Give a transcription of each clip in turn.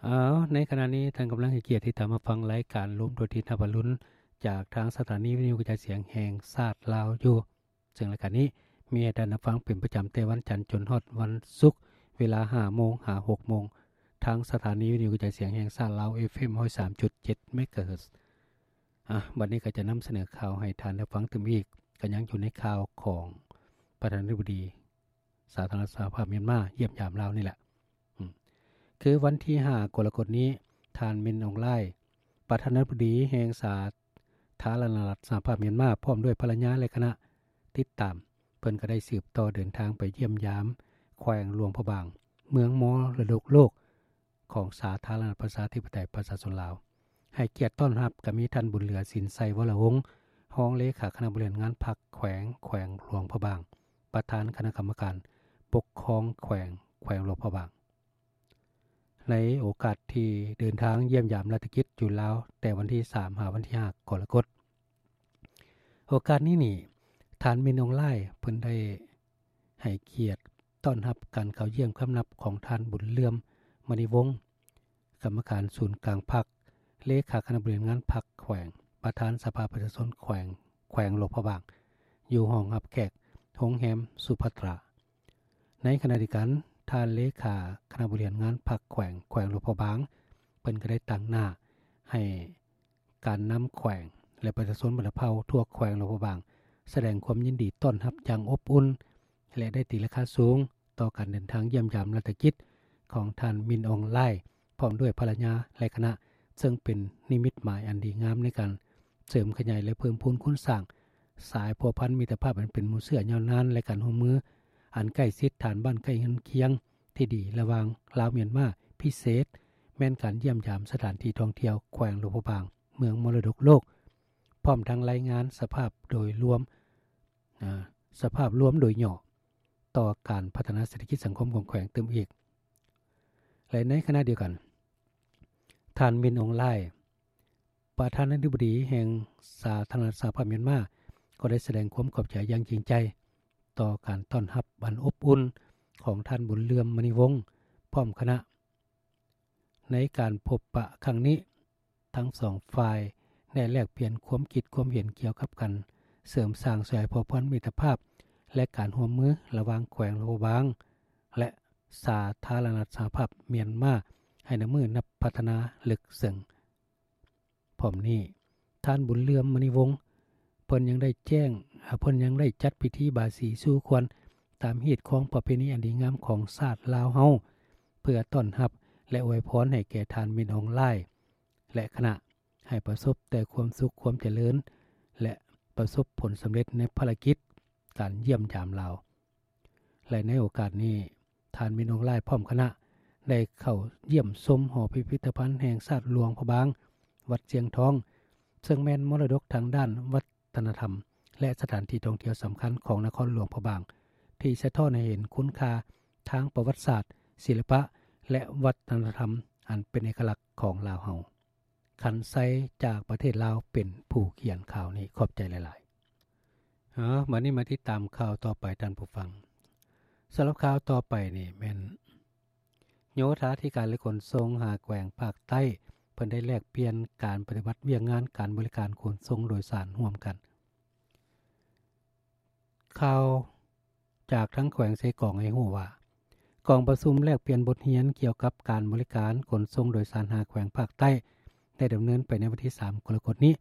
ເອົາ ໃນຂະນະນີ້ທ່ານກຳລັງໃຫ້ກຽດຕິດຕາມຮັບຟັງລາຍການລົມດວງອາທິດຮັບອະລຸນ ຈາກທາງສະຖານີວິທະຍຸກະຈາຍສຽງແຫ່ງຊາດລາວຢູ່. ເຊິ່ງລາຍການນີ້ມີໃຫ້ທ່ານຮັບຟັງເປັນປະຈຳແຕ່ວັນຈັນຈົນຮອດວັນສຸກ ເວລາຫ້າໂມງຫາຫົກໂມງ ທາງສະຖານີວິທະຍຸກະຈາຍສຽງແຫ່ງຊາດລາວ ເອັຟເອັມ ຮ້ອຍສາມຈຸດເຈັດ ເມກາເຮີດ. ອາ ບັດນີ້ກໍຈະນຳສະເໜີຂ່າວໃຫ້ທ່ານໄດ້ຟັງຕື່ມອີກ, ກໍຍັງຢູ່ໃນຂ່າວຂອງປະທານາທິບໍດີສາທາລະນະລັດສະຫະພາບມຽນມາຢ້ຽມຢາມລາວນີ້ແຫຼະ. ອືມ ຄືວັນທີຫ້າ ກໍລະກົດນີ້, ທ່ານ ມິນ ອອງ ລາຍ ປະທານາທິບໍດີແຫ່ງສາທາລະນະລັດສະຫະພາບມຽນມາ ພ້ອມດ້ວຍພັນລະຍາ ແລະ ຄະນະຕິດຕາມ, ເພິ່ນກໍໄດ້ສືບຕໍ່ເດີນທາງໄປຢ້ຽມຢາມແຂວງຫຼວງພະບາງ, ເມືອງມໍລະດົກໂລກ ຂອງສາທາລະນະລັດປະຊາທິປະໄຕປະຊາຊົນລາວ. ໃຫ້ກຽດຕ້ອນຮັບກໍມີທ່ານ ບຸນເຫຼືອ ສິນໄຊວໍລະວົງ ຮອງເລຂາຄະນະບໍລິຫານງານພັກແຂວງ, ແຂວງຫຼວງພະບາງ, ປະທານຄະນະກຳມະການປົກຄອງແຂວງ, ແຂວງຫຼວງພະບາງ. ໃນໂອກາດທີ່ເດີນທາງຢ້ຽມຢາມລາຊະກິດຢູ່ລາວ ແຕ່ວັນທີສາມ ຫາວັນທີຫ້າ ກໍລະກົດ. ໂອກາດນີ້ນີ້ ທ່ານ ມິນ ອອງ ລາຍ ເພິ່ນໄດ້ໃຫ້ກຽດຕ້ອນຮັບການເຂົ້າຢ້ຽມຄຳນັບຂອງທ່ານ ບຸນເຫຼືອມ ມະນີວົງ ກຳມະການສູນກາງພັກ, ເລຂາຄະນະບໍລິຫານງານພັກແຂວງ, ປະທານສະພາປະຊາຊົນແຂວງ, ແຂວງຫຼວງພະບາງ ຢູ່ຫ້ອງຮັບແຂກໂຮງແຮມສຸພັດຕາ. ໃນຂະນະດຽວກັນ, ທ່ານເລຂາຄະນະບໍລິຫານງານພັກແຂວງ, ແຂວງຫຼວງພະບາງ ເພິ່ນກໍໄດ້ຕາງໜ້າໃຫ້ ການນຳແຂວງ ແລະ ປະຊາຊົນບັນດາເຜົ່າທົ່ວແຂວງຫຼວງພະບາງ ສະແດງຄວາມຍິນດີຕ້ອນຮັບຢ່າງອົບອຸ່ນ ແລະ ໄດ້ຕີລາຄາສູງຕໍ່ການເດີນທາງຢ້ຽມຢາມລາຊະກິດຂອງທ່ານ ມິນ ອອງ ລາຍ ພ້ອມດ້ວຍພັນລະຍາ ແລະ ຄະນະ, ເຊິ່ງເປັນນິມິດໝາຍອັນດີງາມໃນການເສີມຂະຫຍາຍ ແລະ ເພີ່ມພູນຄູນສ້າງສາຍພົວພັນມິດຕະພາບອັນເປັນໝູ່ເຊື້ອຍາວນານ ແລະ ການຮ່ວມມືອັນໃກ້ຊິດ ຖານບ້ານໃກ້ເຮືອນຄຽງ ທີ່ດີລະຫວ່າງລາວມຽນມາ, ພິເສດແມ່ນການຢ້ຽມຢາມສະຖານທີ່ທ່ອງທ່ຽວແຂວງຫຼວງພະບາງ ເມືອງມໍລະດົກໂລກ, ພ້ອມທັງລາຍງານສະພາບໂດຍລວມ, ອາ, ສະພາບລວມໂດຍຫຍໍ້ຕໍ່ການພັດທະນາເສດຖະກິດສັງຄົມຂອງແຂວງຕື່ມອີກ. ແລະ ໃນຂະນະດຽວກັນ, ທ່ານ ມິນ ອອງ ລາຍ ປະທານາທິບໍດີແຫ່ງສາທາລະນະລັດສະຫະພາບມຽນມາ ກໍໄດ້ສະແດງຄວາມຂອບໃຈຢ່າງຈິງໃຈ ຕໍ່ການຕ້ອນຮັບອັນອົບອຸ່ນຂອງທ່ານ ບຸນເຫຼືອມ ມະນີວົງ ພ້ອມຄະນະ. ໃນການພົບປະຄັ້ງນີ້, ທັງສອງຝ່າຍໄດ້ແລກປ່ຽນຄວາມຄິດຄວາມເຫັນກ່ຽວກັບການເສີມສ້າງສາຍພົວພັນມິດຕະພາບ ແລະ ການຮ່ວມມືລະຫວ່າງແຂວງຫຼວງພະບາງ ແລະ ສາທາລະນະລັດສະຫະພາບມຽນມາ ໃຫ້ນັບມື້ນັບພັດທະນາເລິກເຊິ່ງ. ພ້ອມນີ້, ທ່ານ ບຸນເຫຼືອມ ມະນີວົງ ເພິ່ນຍັງໄດ້ແຈ້ງ, ເພິ່ນຍັງໄດ້ຈັດພິທີບາສີສູ່ຂວັນຕາມຮີດຄອງປະເພນີອັນດີງາມຂອງຊາດລາວເຮົາ ເພື່ອຕ້ອນຮັບ ແລະ ອວຍພອນໃຫ້ແກ່ທ່ານ ມິນ ອອງ ລາຍ ແລະ ຄະນະ ໃຫ້ປະສົບແຕ່ຄວາມສຸກຄວາມຈະເລີນ ແລະ ປະສົບຜົນສຳເລັດໃນພາລະກິດການຢ້ຽມຢາມລາວ. ແລະ ໃນໂອກາດນີ້, ທ່ານ ມິນ ອອງ ລາຍ ພ້ອມຄະນະ ໄດ້ເຂົ້າຢ້ຽມຊົມຫໍພິພິທະພັນແຫ່ງຊາດຫຼວງພະບາງ ວັດຊຽງທອງ, ເຊິ່ງແມ່ນມໍລະດົກທາງດ້ານວັດທະນະທຳ ແລະ ສະຖານທີ່ທ່ອງທ່ຽວສຳຄັນຂອງນະຄອນຫຼວງພະບາງ ທີ່ສະທ້ອນໃຫ້ເຫັນຄຸນຄ່າທາງປະຫວັດສາດ, ສິລະປະ ແລະ ວັດທະນະທຳອັນເປັນເອກະລັກຂອງລາວເຮົາ. ຂັນໄຊ ຈາກປະເທດລາວ ເປັນຜູ້ຂຽນຂ່າວນີ້. ຂອບໃຈຫຼາຍໆ. ເອົາ, ບັດນີ້ມາຕິດຕາມຂ່າວຕໍ່ໄປ, ທ່ານຜູ້ຟັງ. ສຳລັບຂ່າວຕໍ່ໄປນີ້ແມ່ນ ໂຍທາທິການ ແລະ ຂົນສົ່ງ ຫ້າແຂວງພາກໃຕ້ ເພິ່ນໄດ້ແລກປ່ຽນການປະຕິບັດວຽກງານການບໍລິການຂົນສົ່ງໂດຍສານຮ່ວມກັນ. ຂ່າວຈາກທາງແຂວງເຊກອງໃຫ້ຮູ້ວ່າ, ກອງປະຊຸມແລກປ່ຽນບົດຮຽນກ່ຽວກັບການບໍລິການຂົນສົ່ງໂດຍສານຫ້າແຂວງພາກໃຕ້ ໄດ້ດຳເນີນໄປໃນວັນທີສາມ ກໍລະກົດນີ້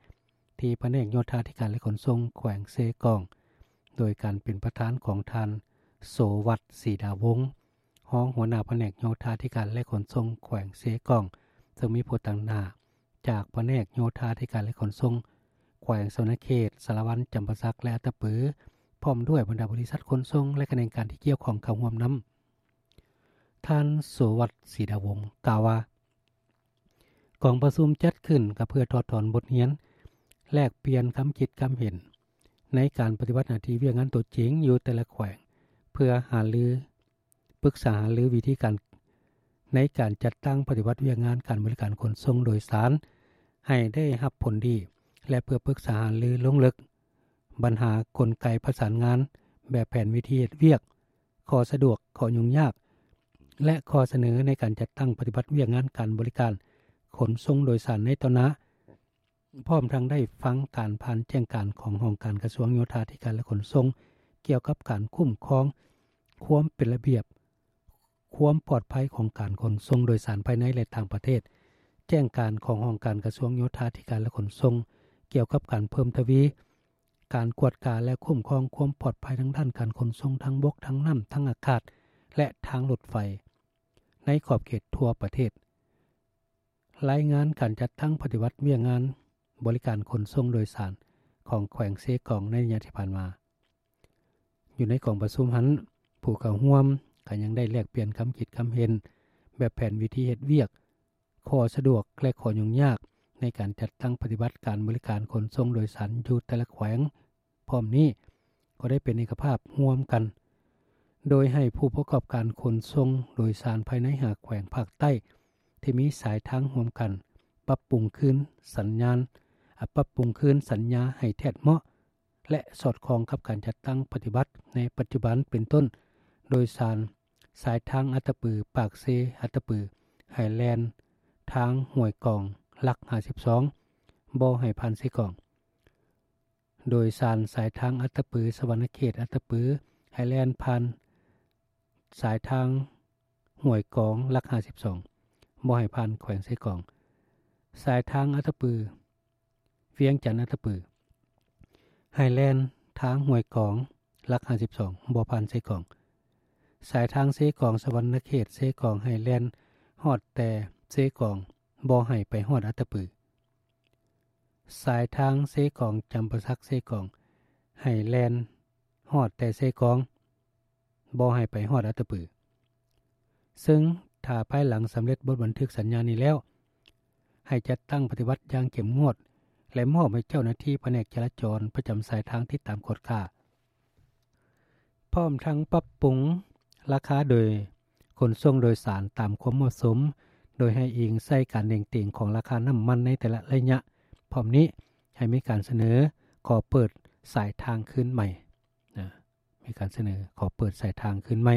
ທີ່ພະແນກໂຍທາທິການ ແລະ ຂົນສົ່ງແຂວງເຊກອງ ໂດຍການເປັນປະທານຂອງທ່ານ ໂສວັດ ສີດາວົງ ຮອງຫົວໜ້າພະແນກໂຍທາທິການ ແລະ ຂົນສົ່ງແຂວງເຊກອງ, ເຊິ່ງມີຜູ້ຕາງໜ້າຈາກພະແນກໂຍທາທິການ ແລະ ຂົນສົ່ງແຂວງສະຫວັນນະເຂດ, ສາລະວັນ, ຈຳປາສັກ ແລະ ອັດຕະປື, ພ້ອມດ້ວຍບັນດາບໍລິສັດຂົນສົ່ງ ແລະ ຂະແໜງການທີ່ກ່ຽວຂ້ອງເຂົ້າຮ່ວມນຳ. ທ່ານ ໂສວັດ ສີດາວົງ ກ່າວວ່າ, ກອງປະຊຸມຈັດຂຶ້ນກໍເພື່ອຖອດຖອນບົດຮຽນ, ແລກປ່ຽນຄຳຄິດຄຳເຫັນໃນການປະຕິບັດໜ້າທີ່ວຽກງານຕົວຈິງຢູ່ແຕ່ລະແຂວງ, ເພື່ອຫາລື, ປຶກສາຫາລືວິທີການໃນການຈັດຕັ້ງປະຕິບັດວຽກງານການບໍລິການຂົນສົ່ງໂດຍສານໃຫ້ໄດ້ຮັບຜົນດີ ແລະ ເພື່ອປຶກສາຫາລືລົງເລິກບັນຫາກົນໄກປະສານງານແບບແຜນວິທີເຮັດວຽກ, ຂໍ້ສະດວກ, ຂໍ້ຫຍຸ້ງຍາກ ແລະ ຂໍ້ສະເໜີໃນການຈັດຕັ້ງປະຕິບັດວຽກງານການບໍລິການຂົນສົ່ງໂດຍສານໃນຕໍ່ໜ້າ, ພ້ອມທັງໄດ້ຟັງການຜ່ານແຈ້ງການຂອງຫ້ອງການກະຊວງໂຍທາທິການ ແລະ ຂົນສົ່ງ ກ່ຽວກັບການຄຸ້ມຄອງຄວາມເປັນລະບຽບ, ຄວາມປອດໄພຂອງການຂົນສົ່ງໂດຍສານພາຍໃນ ແລະ ຕ່າງປະເທດ, ແຈ້ງການຂອງຫ້ອງການກະຊວງໂຍທາທິການ ແລະ ຂົນສົ່ງ ກ່ຽວກັບການເພີ່ມທະວີການກວດກາ ແລະ ຄຸ້ມຄອງຄວາມປອດໄພທາງດ້ານການຂົນສົ່ງທາງບົກ, ທາງນ້ຳ, ທາງອາກາດ ແລະ ທາງລົດໄຟ ໃນຂອບເຂດທົ່ວປະເທດ. ລາຍງານການຈັດຕັ້ງປະຕິບັດວຽກງານບໍລິການຂົນສົ່ງໂດຍສານຂອງແຂວງເຊກອງໃນໄລຍະທີ່ຜ່ານມາ. ຢູ່ໃນກອງປະຊຸມຫັ້ນ, ຜູ້ເຂົ້າຮ່ວມກໍຍັງໄດ້ແລກປ່ຽນຄຳຄິດຄຳເຫັນແບບແຜນວິທີເຮັດວຽກ, ຂໍ້ສະດວກ ແລະ ຂໍ້ຫຍຸ້ງຍາກໃນການຈັດຕັ້ງປະຕິບັດການບໍລິການຂົນສົ່ງໂດຍສານຢູ່ແຕ່ລະແຂວງ. ພ້ອມນີ້ກໍໄດ້ເປັນເອກະພາບຮ່ວມກັນ ໂດຍໃຫ້ຜູ້ປະກອບການຂົນສົ່ງໂດຍສານພາຍໃນຫ້າແຂວງພາກໃຕ້ທີ່ມີສາຍທາງຮ່ວມກັນ ປັບປຸງຄືນສັນຍານ, ອາ, ປັບປຸງຄືນສັນຍາໃຫ້ແທດເໝາະ ແລະ ສອດຄ່ອງກັບການຈັດຕັ້ງປະຕິບັດໃນປັດຈຸບັນ, ເປັນຕົ້ນ ໂດຍສານສາຍທາງອັດຕະປື, ປາກເຊ, ອັດຕະປື ໃຫ້ແລ່ນທາງຫ້ວຍກອງ ຫຼັກຫ້າສິບສອງ ບໍ່ໃຫ້ຜ່ານເຊກອງ. ໂດຍສານສາຍທາງອັດຕະປື, ສະຫວັນນະເຂດ, ອັດຕະປື ໃຫ້ແລ່ນຜ່ານສາຍທາງຫ້ວຍກອງ ຫຼັກຫ້າສິບສອງ ບໍ່ໃຫ້ຜ່ານແຂວງເຊກອງ. ສາຍທາງອັດຕະປື, ວຽງຈັນ, ອັດຕະປື ໃຫ້ແລ່ນທາງຫ້ວຍກອງ ຫຼັກຫ້າສິບສອງ ບໍ່ຜ່ານເຊກອງ. ສາຍທາງເຊກອງ, ສະຫວັນນະເຂດ, ເຊກອງ ໃຫ້ແລ່ນຮອດແຕ່ເຊກອງ, ບໍ່ໃຫ້ໄປຮອດອັດຕະປື. ສາຍທາງເຊກອງ ຈຳປາສັກ ເຊກອງ ໃຫ້ແລ່ນຮອດແຕ່ເຊກອງ, ບໍ່ໃຫ້ໄປຮອດອັດຕະປື. ເຊິ່ງຖ້າພາຍຫຼັງສຳເລັດບົດບັນທຶກສັນຍານີ້ແລ້ວ, ໃຫ້ຈັດຕັ້ງປະຕິບັດຢ່າງເຂັ້ມງວດ ແລະ ມອບໃຫ້ເຈົ້າໜ້າທີ່ພະແນກຈະລາຈອນປະຈຳສາຍທາງຕິດຕາມກວດກາ. ພ້ອມທັງປັບປຸງລາຄາໂດຍຂົນສົ່ງໂດຍສານຕາມຄວາມເໝາະສົມ, ໂດຍໃຫ້ອີງໃສ່ການເໜັງຕີງຂອງລາຄານ້ຳມັນໃນແຕ່ລະໄລຍະ. ພ້ອມນີ້ໃຫ້ມີການສະເໜີຂໍເປີດສາຍທາງຄືນໃໝ່, ນະ, ມີການສະເໜີຂໍເປີດສາຍທາງຄືນໃໝ່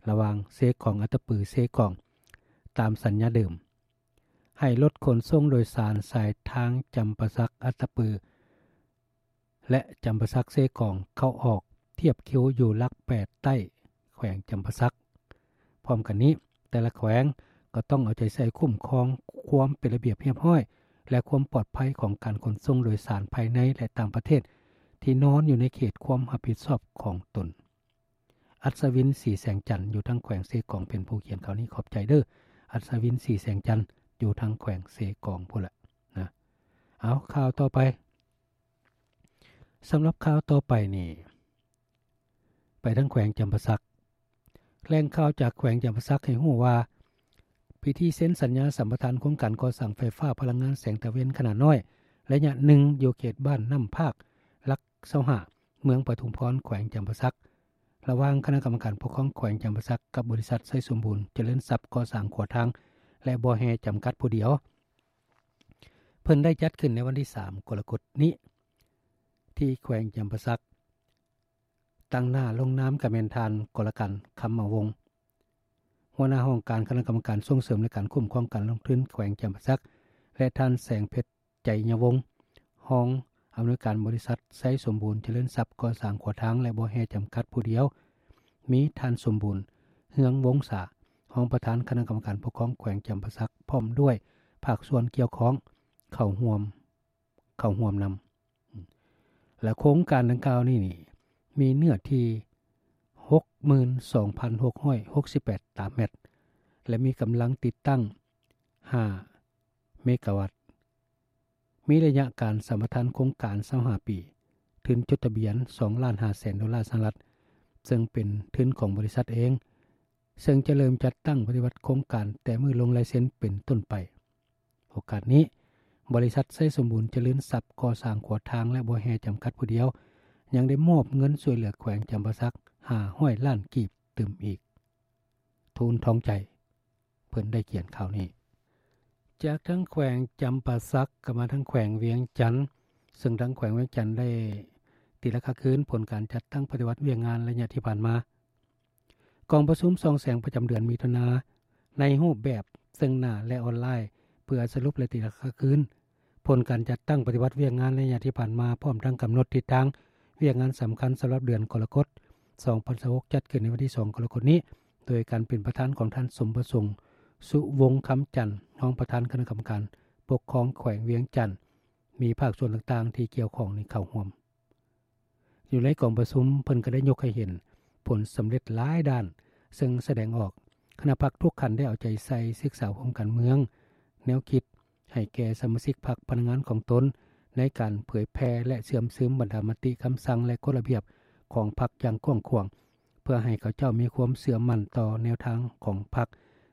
ລະຫວ່າງເຊກອງ ອັດຕະປື ເຊກອງ ຕາມສັນຍາເດີມ. ໃຫ້ລົດຂົນສົ່ງໂດຍສານສາຍທາງຈຳປາສັກ ອັດຕະປື ແລະ ຈຳປາສັກ ເຊກອງ ເຂົ້າອອກທຽບຄິວຢູ່ຫຼັກແປດໃຕ້ແຂວງຈຳປາສັກ. ພ້ອມກັນນີ້, ແຕ່ລະແຂວງກໍຕ້ອງເອົາໃຈໃສ່ຄຸ້ມຄອງຄວາມເປັນລະບຽບຮຽບຮ້ອຍ ແລະ ຄວາມປອດໄພຂອງການຂົນສົ່ງໂດຍສານພາຍໃນ ແລະ ຕ່າງປະເທດທີ່ນອນຢູ່ໃນເຂດຄວາມຮັບຜິດຊອບຂອງຕົນ. ອັດສະວິນ ສີແສງຈັນ ຢູ່ທາງແຂວງເຊກອງ ເປັນຜູ້ຂຽນຂ່າວນີ້. ຂອບໃຈເດີ້ ອັດສະວິນ ສີແສງຈັນ ຢູ່ທາງແຂວງເຊກອງພຸ້ນລະນະ. ເອົາ, ຂ່າວຕໍ່ໄປ. ສຳລັບຂ່າວຕໍ່ໄປນີ້ ໄປທາງແຂວງຈຳປາສັກ. ແຫຼ່ງຂ່າວຈາກແຂວງຈຳປາສັກໃຫ້ຮູ້ວ່າ, ພິທີເຊັນສັນຍາສຳປະທານໂຄງການກໍ່ສ້າງໄຟຟ້າພະລັງງານແສງຕາເວັນຂະໜາດນ້ອຍໄລຍະໜຶ່ງ ຢູ່ເຂດບ້ານນ້ຳພາກ ຫຼັກຊາວຫ້າ ເມືອງປະທຸມພອນ ແຂວງຈຳປາສັກ ລະຫວ່າງຄະນະກຳມະການປົກຄອງແຂວງຈຳປາສັກ ກັບບໍລິສັດໄຊສົມບູນຈະເລີນຊັບ ກໍ່ສ້າງຂົວທາງ ແລະ ບໍ່ແຮ່ຈຳກັດຜູ້ດຽວ. ເພິ່ນໄດ້ຈັດຂຶ້ນໃນວັນທີສາມ ກໍລະກົດນີ້ ທີ່ແຂວງຈຳປາສັກ. ຕາງໜ້າລົງນາມກໍແມ່ນທ່ານ ກໍລະກັນ ຄຳມະວົງ ຫົວໜ້າຫ້ອງການຄະນະກຳມະການສົ່ງເສີມ ແລະ ການຄຸ້ມຄອງການລົງທຶນແຂວງຈຳປາສັກ ແລະ ທ່ານ ແສງເພັດ ໄຈຍະວົງ ຮອງອຳນວຍການບໍລິສັດໄຊສົມບູນຈະເລີນຊັບ ກໍ່ສ້າງຂົວທາງ ແລະ ບໍ່ແຮ່ຈຳກັດຜູ້ດຽວ, ມີທ່ານ ສົມບູນ ເຮືອງວົງສາ ຮອງປະທານຄະນະກຳມະການປົກຄອງແຂວງຈຳປາສັກ ພ້ອມດ້ວຍພາກສ່ວນກ່ຽວຂ້ອງເຂົ້າຮ່ວມ, ເຂົ້າຮ່ວມນຳ. ແລະ ໂຄງການດັ່ງກ່າວນີ້ນີ້ ມີເນື້ອທີ່ ຫົກໝື່ນສອງພັນຫົກຮ້ອຍຫົກສິບແປດຕາແມັດ ແລະ ມີກຳລັງຕິດຕັ້ງ ຫ້າເມກາວັດ, ມີໄລຍະການສຳປະທານໂຄງການຊາວຫ້າປີ, ທຶນຈົດທະບຽນສອງລ້ານຫ້າແສນໂດລາສະຫະລັດ, ເຊິ່ງເປັນທຶນຂອງບໍລິສັດເອງ, ເຊິ່ງຈະເລີ່ມຈັດຕັ້ງປະຕິບັດໂຄງການແຕ່ມື້ລົງລາຍເຊັນເປັນຕົ້ນໄປ. ໂອກາດນີ້, ບໍລິສັດໄຊສົມບູນຈະເລີນຊັບ ກໍ່ສ້າງຂົວທາງ ແລະ ບໍ່ແຮ່ຈຳກັດຜູ້ດຽວ ຍັງໄດ້ມອບເງິນຊ່ວຍເຫຼືອແຂວງຈຳປາສັກ ຫ້າຮ້ອຍລ້ານກີບຕື່ມອີກ. ທູນ ທອງໃຈ ເພິ່ນໄດ້ຂຽນຂ່າວນີ້. ຈາກທາງແຂວງຈຳປາສັກ ກໍມາທາງແຂວງວຽງຈັນ, ເຊິ່ງທາງແຂວງວຽງຈັນໄດ້ຕີລາຄາຄືນຜົນການຈັດຕັ້ງປະຕິບັດວຽກງານໄລຍະທີ່ຜ່ານມາ. ກອງປະຊຸມສ່ອງແສງປະຈຳເດືອນມິຖຸນາ ໃນຮູບແບບເຊິ່ງໜ້າ ແລະ ອອນລາຍ ເພື່ອສະຫຼຸບ ແລະ ຕີລາຄາຄືນ ຜົນການຈັດຕັ້ງປະຕິບັດວຽກງານໄລຍະທີ່ຜ່ານມາ ພ້ອມທັງກຳນົດທິດທາງວຽກງານສຳຄັນສຳລັບເດືອນກໍລະກົດ ສອງພັນຊາວຫົກ ຈັດຂຶ້ນໃນວັນທີສອງ ກໍລະກົດນີ້ ໂດຍການເປັນປະທານຂອງທ່ານ ສົມປະສົງ ສຸວົງຄຳຈັນ ຮອງປະທານຄະນະກຳມະການປົກຄອງແຂວງວຽງຈັນ, ມີພາກສ່ວນຕ່າງໆທີ່ກ່ຽວຂ້ອງນີ້ເຂົ້າຮ່ວມ. ຢູ່ໃນກອງປະຊຸມ ເພິ່ນກໍໄດ້ຍົກໃຫ້ເຫັນຜົນສຳເລັດຫຼາຍດ້ານ, ເຊິ່ງສະແດງອອກຄະນະພັກທຸກຂັ້ນໄດ້ເອົາໃຈໃສ່ສຶກສາໂຮມການເມືອງ, ແນວຄິດໃຫ້ແກ່ສະມາຊິກພັກ, ພະນັກງານຂອງຕົນ ໃນການເຜີຍແຜ່ ແລະ ເຊື່ອມຊຶມບັນດາມະຕິ, ຄຳສັ່ງ ແລະ ກົດລະບຽບຂອງພັກຢ່າງກວ້າງຂວາງ, ເພື່ອໃຫ້ເຂົາເຈົ້າມີຄວາມເຊື່ອໝັ້ນຕໍ່ແນວທາງຂອງພັກ,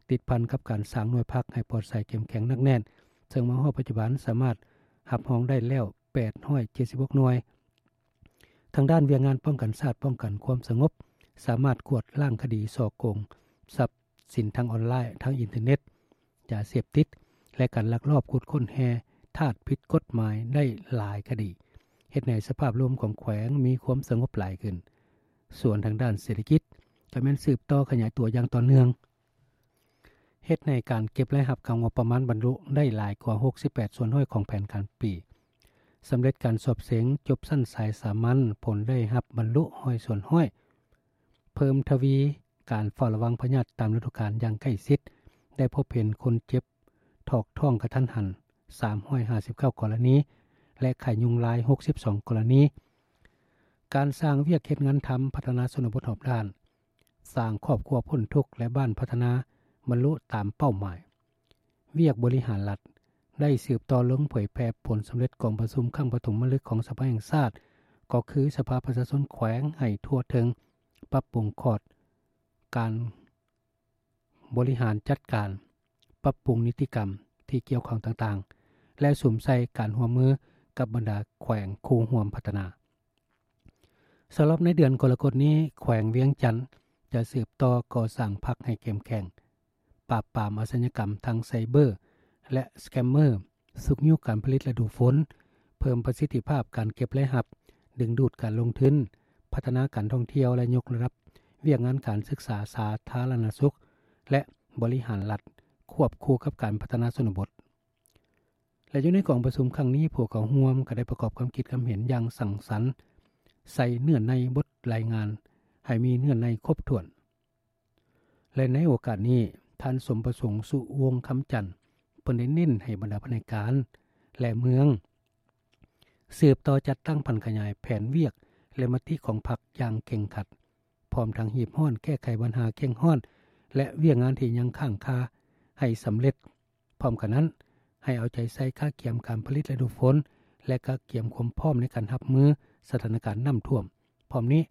ຕິດພັນກັບການສ້າງໜ່ວຍພັກໃຫ້ປອດໃສ, ເຂັ້ມແຂງ, ໜັກແໜ້ນ, ເຊິ່ງມາຮອດປັດຈຸບັນສາມາດຮັບຮອງໄດ້ແລ້ວ ແປດຮ້ອຍເຈັດສິບຫົກ ໜ່ວຍ. ທາງດ້ານວຽກງານປ້ອງກັນຊາດ, ປ້ອງກັນຄວາມສະຫງົບ, ສາມາດກວດລ້າງຄະດີສໍ້ໂກງຊັບສິນທາງອອນລາຍ, ທາງອິນເຕີເນັດ, ຢາເສບຕິດ ແລະ ການລັກລອບຂຸດຄົ້ນແຮ່ທາດຜິດກົດໝາຍໄດ້ຫຼາຍຄະດີ, ເຮັດໃຫ້ສະພາບລວມຂອງແຂວງມີຄວາມສະຫງົບຫຼາຍຂຶ້ນ. ສ່ວນທາງດ້ານເສດຖະກິດ ກໍແມ່ນສືບຕໍ່ຂະຫຍາຍຕົວຢ່າງຕໍ່ເນື່ອງ, ເຮັດໃຫ້ການເກັບລາຍຮັບຂອງງົບປະມານບັນລຸໄດ້ຫຼາຍກວ່າ ຫົກສິບແປດສ່ວນຮ້ອຍ ຂອງແຜນການປີ, ສຳເລັດການສອບເສັງຈົບຊັ້ນສາຍສາມັນ, ຜົນໄດ້ຮັບບັນລຸ ຮ້ອຍສ່ວນຮ້ອຍ, ເພີ່ມທະວີການເຝົ້າລະວັງພະຍາດຕາມລະດູການຢ່າງໃກ້ຊິດ, ໄດ້ພົບເຫັນຄົນເຈັບຖອກທ້ອງກະທັນຫັນ ສາມຮ້ອຍຫ້າສິບເກົ້າ ກໍລະນີ ແລະ ໄຂ້ຍຸງລາຍ ຫົກສິບສອງ ກໍລະນີ, ການສ້າງວຽກເຮັດງານທຳ, ພັດທະນາຊົນນະບົດຮອບດ້ານ, ສ້າງຄອບຄົວພົ້ນທຸກ ແລະ ບ້ານພັດທະນາບັນລຸຕາມເປົ້າໝາຍ. ວຽກບໍລິຫານລັດ ໄດ້ສືບຕໍ່ລົງເຜີຍແຜ່ຜົນສຳເລັດກອງປະຊຸມຄັ້ງປະຖົມມະລຶກຂອງສະພາແຫ່ງຊາດ, ກໍຄືສະພາປະຊາຊົນແຂວງໃຫ້ທົ່ວເຖິງ, ປັບປຸງຂອດການບໍລິຫານຈັດການ, ປັບປຸງນິຕິກຳທີ່ກ່ຽວຂ້ອງຕ່າງໆ ແລະ ສຸມໃສ່ການຮ່ວມມືກັບບັນດາແຂວງຄູ່ຮ່ວມພັດທະນາ. ສຳລັບໃນເດືອນກໍລະກົດນີ້, ແຂວງວຽງຈັນຈະສືບຕໍ່ກໍ່ສ້າງພັກໃຫ້ເຂັ້ມແຂງ, ປາບປາມອາຊະຍາກຳທາງໄຊເບີ ແລະ ສະແກມເມີ, ຊຸກຍູ້ການຜະລິດລະດູຝົນ, ເພີ່ມປະສິດທິພາບການເກັບລາຍຮັບ, ດຶງດູດການລົງທຶນ, ພັດທະນາການທ່ອງທ່ຽວ ແລະ ຍົກລະດັບວຽກງານການສຶກສາສາທາລະນະສຸກ ແລະ ບໍລິຫານລັດ, ຄວບຄູ່ກັບການພັດທະນາຊົນນະບົດ. ແລະ ຢູ່ໃນກອງປະຊຸມຄັ້ງນີ້, ຜູ້ເຂົ້າຮ່ວມກໍໄດ້ປະກອບຄວາມຄິດຄວາມເຫັນຢ່າງສັງສັນ, ໃສ່ເນື້ອໃນບົດລາຍງານໃຫ້ມີເນື້ອໃນຄົບຖ້ວນ. ແລະ ໃນໂອກາດນີ້, ທ່ານ ສົມປະສົງ ສຸວົງຄຳຈັນ ເພິ່ນໄດ້ເນັ້ນໃຫ້ບັນດາພະແນກການ ແລະ ເມືອງ ສືບຕໍ່ຈັດຕັ້ງຜັນຂະຫຍາຍແຜນວຽກ ແລະ ມະຕິຂອງພັກຢ່າງເຄັ່ງຄັດ, ພ້ອມທັງຮີບຮ້ອນແກ້ໄຂບັນຫາເຄັ່ງຮ້ອນ ແລະ ວຽກງານທີ່ຍັງຄ້າງຄາໃຫ້ສຳເລັດ. ພ້ອມກັນນັ້ນ, ໃຫ້ເອົາໃຈໃສ່ກະກຽມການຜະລິດລະດູຝົນ ແລະ ກະກຽມຄວາມພ້ອມໃນການຮັບມືສະຖານະການນ້ຳຖ້ວມ. ພ້ອມນີ້,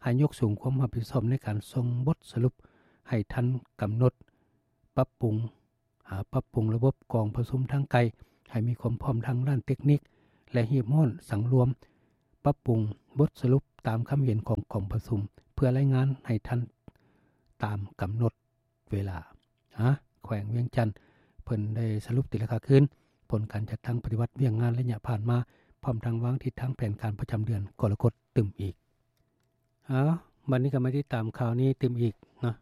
ໃຫ້ຍົກສູງຄວາມຮັບຜິດຊອບໃນການສົ່ງບົດສະຫຼຸບໃຫ້ທັນກຳນົດ, ປັບປຸງ, ອາ, ປັບປຸງລະບົບກອງປະຊຸມທາງໄກໃຫ້ມີຄວາມພ້ອມທາງດ້ານເຕັກນິກ ແລະ ຮີບຮ້ອນສັງລວມ, ປັບປຸງບົດສະຫຼຸບຕາມຄຳເຫັນຂອງກອງປະຊຸມ ເພື່ອລາຍງານໃຫ້ທັນຕາມກຳນົດ ເວລາ. ອາ, ແຂວງວຽງຈັນ ເພິ່ນໄດ້ສະຫຼຸບຕີລາຄາຄືນຜົນການຈັດຕັ້ງປະຕິບັດວຽກງານໄລຍະຜ່ານມາ, ພ້ອມທັງວາງທິດທາງແຜນການປະຈຳເດືອນກໍລະກົດຕື່ມອີກ. ເອົາ, ບັດນີ້ກໍມາຕິດຕາມຂ່າວນີ້ຕື່ມອີກເນາະ.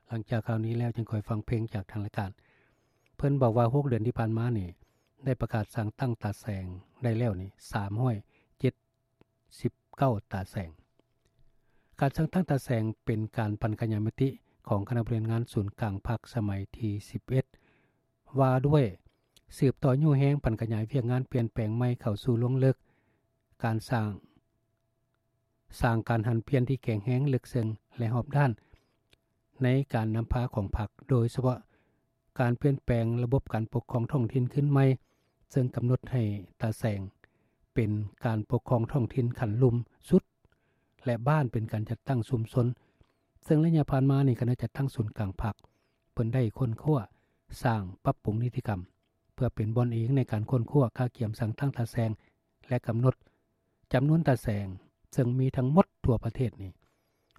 ຫຼັງຈາກຂ່າວນີ້ແລ້ວ ຈຶ່ງຄ່ອຍຟັງເພງຈາກທາງລາຍການ. ເພິ່ນບອກວ່າ ຫົກເດືອນທີ່ຜ່ານມານີ້ ໄດ້ປະກາດສ້າງຕັ້ງຕາແສງໄດ້ແລ້ວນີ້ ສາມຮ້ອຍເຈັດ ສິບເກົ້າຕາແສງ. ການສ້າງຕັ້ງຕາແສງເປັນການຜັນຂະຫຍາຍມະຕິຂອງຄະນະບໍລິຫານງານສູນກາງພັກສະໄໝທີສິບເອັດ ວ່າດ້ວຍສືບຕໍ່ຍູ້ແຮງຜັນຂະຫຍາຍວຽກງານປ່ຽນແປງໃໝ່ເຂົ້າສູ່ລວງເລິກ, ການສ້າງ, ສ້າງການຫັນປ່ຽນທີ່ແຂງແຮງ, ເລິກເຊິ່ງ ແລະ ຮອບດ້ານໃນການນຳພາຂອງພັກ, ໂດຍສະເພາະ ການປ່ຽນແປງລະບົບການປົກຄອງທ້ອງຖິ່ນຄືນໃໝ່, ເຊິ່ງກຳນົດໃຫ້ຕາແສງເປັນການປົກຄອງທ້ອງຖິ່ນຂັ້ນລຸ່ມສຸດ ແລະ ບ້ານເປັນການຈັດຕັ້ງຊຸມຊົນ. ເຊິ່ງໄລຍະຜ່ານມານີ້, ຄະນະຈັດຕັ້ງສູນກາງພັກ ເພິ່ນໄດ້ຄົ້ນຄວ້າສ້າງປັບປຸງນິຕິກຳ ເພື່ອເປັນບ່ອນອີງໃນການຄົ້ນຄວ້າກະກຽມສ້າງຕັ້ງຕາແສງ ແລະ ກຳນົດ ຈຳນວນຕາແສງ ເຊິ່ງມີທັງໝົດທົ່ວປະເທດນີ້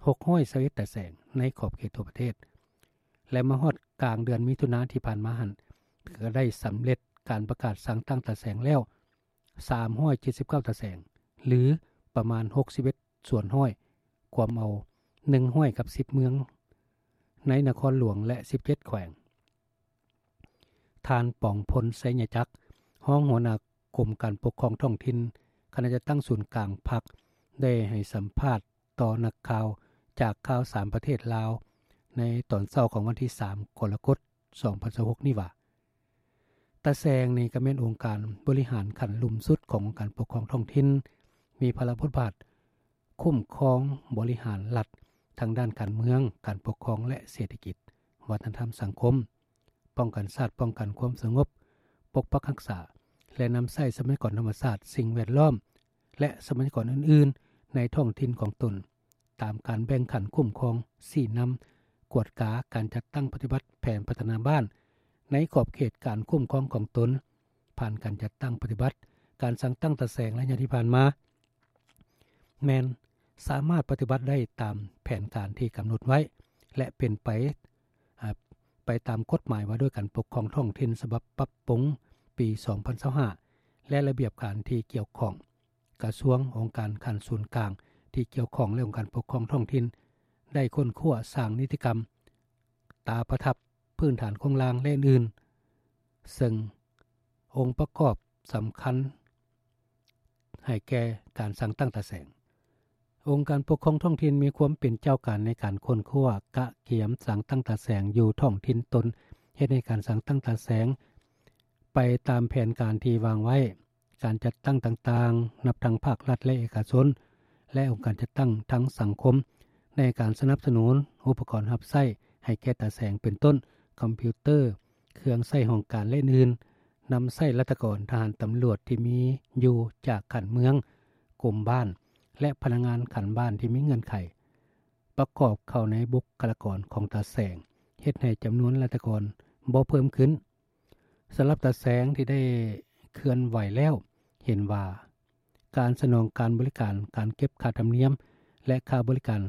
ຫົກຮ້ອຍຊາວເອັດຕາແສງ ໃນຂອບເຂດທົ່ວປະເທດ ແລະ ມາຮອດກາງເດືອນມິຖຸນາທີ່ຜ່ານມາຫັ້ນ ກໍໄດ້ສຳເລັດການປະກາດສ້າງຕັ້ງຕາແສງແລ້ວ ສາມຮ້ອຍເຈັດສິບເກົ້າຕາແສງ ຫຼື ປະມານ ຫົກສິບເອັດສ່ວນຮ້ອຍ ກວມເອົາ ໜຶ່ງຮ້ອຍກັບສິບເມືອງ ໃນນະຄອນຫຼວງ ແລະ ສິບເຈັດແຂວງ. ທ່ານ ປອງພົນ ໄຊຍະຈັກ ຮອງຫົວໜ້າກົມການປົກຄອງທ້ອງຖິ່ນ ຄະນະຈັດຕັ້ງສູນກາງພັກ ໄດ້ໃຫ້ສຳພາດຕໍ່ນັກຂ່າວຈາກຂ່າວສາມປະເທດລາວ ໃນຕອນເຊົ້າຂອງວັນທີສາມ ກໍລະກົດ ສອງພັນຊາວຫົກນີ້ວ່າ ຕາແສງນີ້ກໍແມ່ນອົງການບໍລິຫານຂັ້ນລຸ່ມສຸດຂອງອົງການປົກຄອງທ້ອງຖິ່ນ, ມີພາລະບົດບາດຄຸ້ມຄອງບໍລິຫານລັດທາງດ້ານການເມືອງ, ການປົກຄອງ ແລະ ເສດຖະກິດ, ວັດທະນະທຳ, ສັງຄົມ, ປ້ອງກັນຊາດ, ປ້ອງກັນຄວາມສະຫງົບ, ປົກປັກຮັກສາ ແລະ ນຳໃຊ້ຊັບພະຍາກອນທຳມະຊາດ, ສິ່ງແວດລ້ອມ ແລະ ຊັບພະຍາກອນອື່ນໆ ໃນທ້ອງຖິ່ນຂອງຕົນ. ຕາມການແບ່ງຂັ້ນຄຸ້ມຄອງ, ຊີ້ນຳ, ກວດກາການຈັດຕັ້ງປະຕິບັດແຜນພັດທະນາບ້ານ ໃນຂອບເຂດການຄຸ້ມຄອງຂອງຕົນ, ຜ່ານການຈັດຕັ້ງປະຕິບັດການສ້າງຕັ້ງຕາແສງໄລຍະທີ່ຜ່ານມາ ແມ່ນສາມາດປະຕິບັດໄດ້ຕາມແຜນການທີ່ກຳນົດໄວ້ ແລະ ເປັນໄປ ອາ ໄປຕາມກົດໝາຍວ່າດ້ວຍການປົກຄອງທ້ອງຖິ່ນ ສະບັບປັບປຸງປີສອງພັນຊາວຫ້າ ແລະ ລະບຽບການທີ່ກ່ຽວຂ້ອງ. ກະຊວງ, ອົງການຂັ້ນສູນກາງທີ່ກ່ຽວຂ້ອງ ແລະ ອົງການປົກຄອງທ້ອງຖິ່ນ ໄດ້ຄົ້ນຄວ້າສ້າງນິຕິກຳ, ຕາປະທັບ, ພື້ນຖານໂຄງລ່າງ ແລະ ອື່ນໆ ເຊິ່ງອົງປະກອບສຳຄັນໃຫ້ແກ່ການສ້າງຕັ້ງຕາແສງ. ອົງການປົກຄອງທ້ອງຖິ່ນມີຄວາມເປັນເຈົ້າການໃນການຄົ້ນຄວ້າ, ກະກຽມ, ສ້າງຕັ້ງຕາແສງຢູ່ທ້ອງຖິ່ນຕົນ, ເຮັດໃຫ້ການສ້າງຕັ້ງຕາແສງໄປຕາມແຜນການທີ່ວາງໄວ້. ການຈັດຕັ້ງຕ່າງໆ ນັບທັງພາກລັດ ແລະ ເອກະຊົນ ແລະ ອົງການຈັດຕັ້ງທາງສັງຄົມ ໃນການສະໜັບສະໜູນອຸປະກອນຮັບໃຊ້ໃຫ້ແກ່ຕາແສງ ເປັນຕົ້ນ ຄອມພິວເຕີ, ເຄື່ອງໃຊ້ຫ້ອງການ ແລະ ອື່ນໆ, ນຳໃຊ້ລັດຖະກອນ, ທະຫານ, ຕຳຫຼວດທີ່ມີຢູ່ຈາກຂັ້ນເມືອງ, ກົມບ້ານ ແລະ ພະນັກງານຂັ້ນບ້ານທີ່ມີເງື່ອນໄຂ ປະກອບເຂົ້າໃນບຸກຄະລາກອນຂອງຕາແສງ, ເຮັດໃຫ້ຈຳນວນລັດຖະກອນບໍ່ເພີ່ມຂຶ້ນ. ສຳລັບຕາແສງທີ່ໄດ້ເຄື່ອນໄຫວແລ້ວ ເຫັນວ່າການສະໜອງການບໍລິການ, ການເກັບຄ່າທຳນຽມ ແລະ ຄ່າບໍລິການ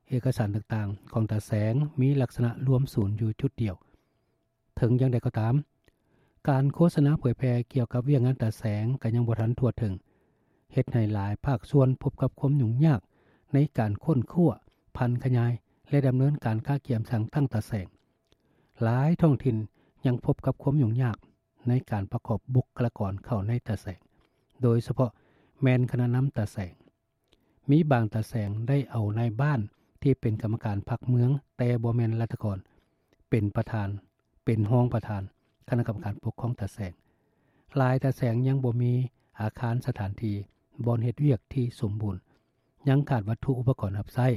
ເອກະສານຕ່າງໆຂອງຕາແສງ ມີລັກສະນະລວມສູນຢູ່ຈຸດດຽວ. ເຖິງຢ່າງໃດກໍຕາມ, ການໂຄສະນາເຜີຍແຜ່ກ່ຽວກັບວຽກງານຕາແສງກໍຍັງບໍ່ທັນທົ່ວເຖິງ, ເຮັດໃຫ້ຫຼາຍພາກສ່ວນພົບກັບຄວາມຫຍຸ້ງຍາກໃນການຄົ້ນຄວ້າ, ຜັນຂະຫຍາຍ ແລະ ດຳເນີນການກະກຽມສ້າງຕັ້ງຕາແສງ. ຫຼາຍທ້ອງຖິ່ນຍັງພົບກັບຄວາມຫຍຸ້ງຍາກໃນການປະກອບບຸກຄະລາກອນເຂົ້າໃນຕາແສງ, ໂດຍສະເພາະແມ່ນຄະນະນຳຕາແສງ. ມີບາງຕາແສງໄດ້ເອົານາຍບ້ານທີ່ເປັນກຳມະການພັກເມືອງ ແຕ່ບໍ່ແມ່ນລັດຖະກອນ ເປັນປະທານ, ເປັນຮອງປະທານຄະນະກຳມະການປົກຄອງຕາແສງ. ຫຼາຍຕາແສງຍັງບໍ່ມີອາຄານສະຖານທີ່ບ່ອນເຮັດວຽກທີ່ສົມບູນ, ຍັງຂາດວັດຖຸອຸປະກອນຮັບໃຊ້,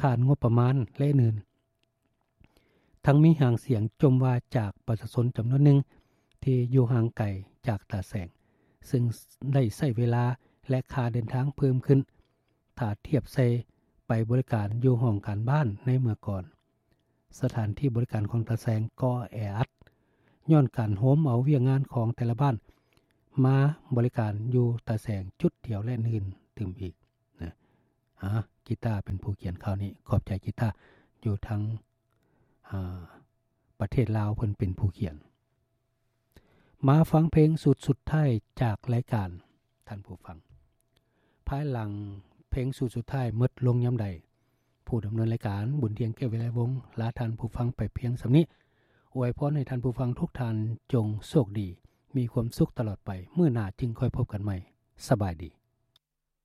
ຂາດງົບປະມານ ແລະ ອື່ນໆ. ທັງມີຫາງສຽງຈົ່ມວ່າຈາກປະຊາຊົນຈຳນວນໜຶ່ງທີ່ຢູ່ຫ່າງໄກຈາກຕາແສງ, ເຊິ່ງໄດ້ໃຊ້ເວລາ ແລະ ຄ່າເດີນທາງເພີ່ມຂຶ້ນ ຖ້າທຽບໃສ່ໄປບໍລິການຢູ່ຫ້ອງການບ້ານໃນເມື່ອກ່ອນ. ສະຖານທີ່ບໍລິການຂອງຕາແສງກໍແອອັດ, ຍ້ອນການໂຮມເອົາວຽກງານຂອງແຕ່ລະບ້ານມາບໍລິການຢູ່ຕາແສງຈຸດດຽວ ແລະ ອື່ນໆຕື່ມອີກ. ນະ ອາ ກີຕາເປັນຜູ້ຂຽນຂ່າວນີ້. ຂອບໃຈກີຕາ ຢູ່ທາງ ອາ ປະເທດລາວ ເພິ່ນເປັນຜູ້ຂຽນ. ມາຟັງເພງຊຸດສຸດທ້າຍຈາກລາຍການ ທ່ານຜູ້ຟັງ. ພາຍຫຼັງເພງຊຸດສຸດທ້າຍໝົດລົງຍາມໃດ, ຜູ້ດຳເນີນລາຍການ ບຸນທຽງ ແກ້ວວິໄລວົງ ລາທ່ານຜູ້ຟັງໄປພຽງສ່ຳນີ້. ອວຍພອນໃຫ້ທ່ານຜູ້ຟັງທຸກທ່ານຈົ່ງໂຊກດີ, ມີຄວາມສຸກຕະຫຼອດໄປ. ມື້ໜ້າຈຶ່ງຄ່ອຍພົບກັນໃໝ່. ສະບາຍດີ.